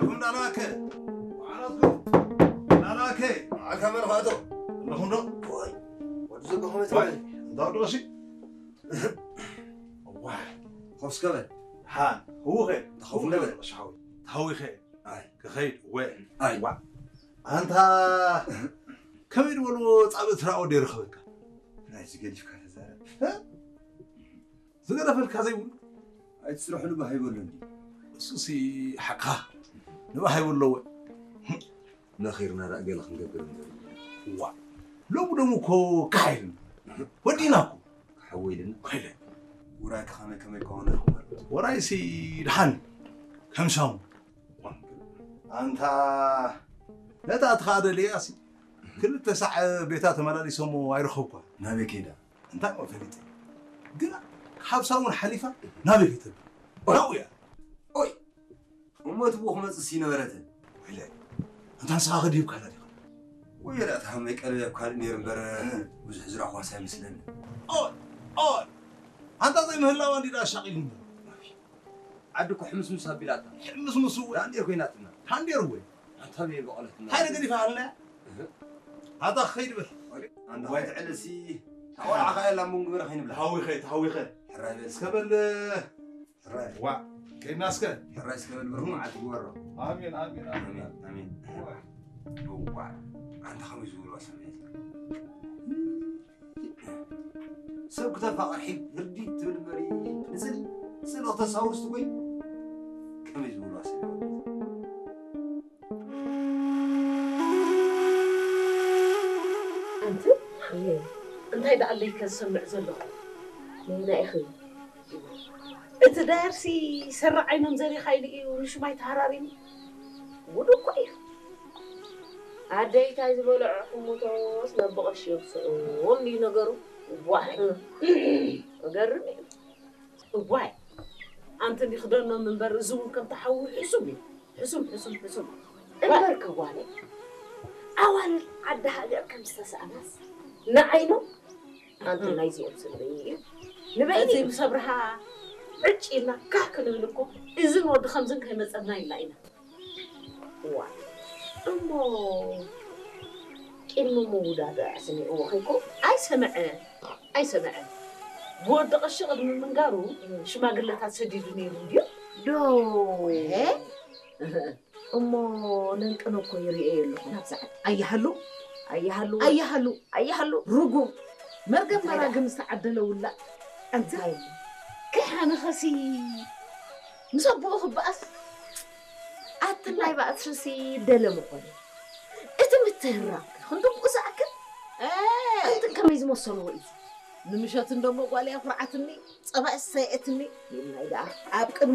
ኩም ዳላከ። መዓላትኩም። ዳላከ። መዓልካ መን ኻቶ? ኣለኹም ዶ? ወይ፣ ወዲ ዘበኹም እቲ ወይ፣ ማለት። እንዳ ወዲ ቀሺ። ዋይ። ኾፍ እስከ በል። ሃን፣ ህውኸ። ተኸውለ በል። ቀሺ ሓወይ። ተሃዊኸ። ኣይ። ክኸይድ፣ ወ። ኣይ። ዋ። ኣንታ፣ ከመይ ድበልዎ ጻብእ ትራኦ ደይረኸበካ? ናይዚ ገዲፍካ ተዛረብ። እ? ዝገደፈልካ ዘይብሉ። ኣይትስርሑ ንባህ ይበሉ እንዲ። እሱሲ ሓቅኻ። ንባህ ይበሉ ኣለዎ። ነኺርና ደኣ ገለ ክንገብር ንደሊ። ዋ። ሎሚ ደሞ እኮ ካሕ ኢልና። ወዲእና እኮ። ክሓዊ ኢልና። ኮይለ። ውራይ ከ ከመይ ከመይ ክኸውን ኣለዎ? ወራይሲ ደሓን። ከም ሻሙ። ኣንታ ነታ ትኻደ ደልያሲ ክልተ ሳዕ ቤታ ተመላሊሶሞ ኣይረኸብኳ። ናበይ ከይዳ? እንታይ እሞ ፈሊጠ? ግና ሓብሳ እውን ሓሊፋ ናበይ ከይተብል? ናብኡ እያ። ኦይ! እሞ እቲ ብኡ ክመጽእስ ይነበረትን? ወይለ፣ ኣንታ ንስኻ ከድሂብካላ ዲኻ? ወይ፣ ራእቲ ሃመይ ቀለብ ኣብ ካልእ ነይሩ እምበር፣ ብዙሕ ዝረኣኹዋስ ኣይመስለኒ። ኦይ! ኦይ! ኣንታ ዘይምህላዋ እንዲ ደኣ ኣሻቒሉኒ። ዓዲ እኮ ሕምስምስ ኣቢላትና። ሕምስምስ እወ። ዳንዴር ኮይናትና። ዳንዴር እወ። ኣንታ በይ በቐለትና። እንታይ ነገር ይፈዓልና? እህ። ኣታ ክኸይድ በል። ኣንታ ወይ። ከይትዕለሲ፣ ታቆልዓ ከኣ የላ እምበር ግበረ ከይንብላ። ተሃዊኸ፣ ተሃዊኸ። ሕራይ በል። እስከ በል። ሕራይ። ዋ፣ ከይድና እስከ። ሕራይ እስከ በል፣ ብሩኽ መዓልቲ ግበሮ። ኣሜን፣ ኣሜን፣ ኣሜን። ኣሜን፣ ኣሜን። ዋ። ዋ። ኣንታ ከመይ ዝብልዋ ሰብ እያ እዚኣ? ሰብ ክተፋቕር ሒግ ህርዲት ትብል እምበሪ፣ ንስእሊ፣ ስእሊ ክተሳውር ስትጎይ፣ ከመይ ዝብልዋ ሰብ እዮም? ኣንቲ፣ እንታይ ደኣ ኣለይከ ዝሰምዕ ዘለኹ? ነየናይ ኢኺ? እቲ ዳየርሲ ሰራዕ ዓይኖም ዘሪኻ ኢሉ እዩ ንሹማይ ተሃራሪሙ። ጉድ እኮ እዩ። ኣደይ ታይ ዝበልዖ ሕሙቶስ ናብ ብቐሺ የብስዑ እንድዩ ነገሩ። ዋይ። እገርም እዩ። እዋይ። ኣንቲ እንዲ ክደኖም እምበር እዚ እውን ከም ተሓዊ ሕሱም እዩ። ሕሱም፣ ሕሱም፣ ሕሱም። እምበር ከጓነ ኣዋልድ ዓዲ ሃገር ከም ዝተሳእናስ ንዓይኖም ኣንቲ ናይዚኦም ስምዒ እዩ። ንበይኒ እቲ ምስ ኣብርሃ ዕጭ ኢልና ካህ ክንብል እኮ እዝን ወዲ ከምዝን ከይመጸና ኢልና ኢና። እዋ፣ እሞ ቅድሚ ምውዳድ ኣዕስኒዕዎ ከይኮ ኣይሰምዐ፣ ኣይሰምዐ። ብወዲ ቀሺ ቅድሚ ምንጋሩ ሽማግለታት ሰዲዱ ነይሩ እንድዩ። ዶ? እ? እሞ ነንቅነ እኮ ይርእዮ ኣለኹ ናብዛ ዓዲ። ኣይሃሉ፣ ኣይሃሉ፣ ኣይሃሉ፣ ኣይሃሉ። ርጉም፣ መርገም እንታይ ደኣ? መራግም ዝተዓደለ ውላድ። ኣንቲ እንታይ? ከሓንኸሲ ምስ ኣቦኡ ክበኣስ? ኣቲ ናይ ባእስርሲ ደለ ምኾነ። እቲ ምትህራም ክንድቁ ዝኣክል? እ! ኣንቲ ከመይ ዝመሰልዎ እዩ? ንምሸት እንደሞ ጓል እያ ኩርዓትኒ፣ ጸባእ ሰይአትኒ። ይልናይ ደኣ ኣብ ቅድሚ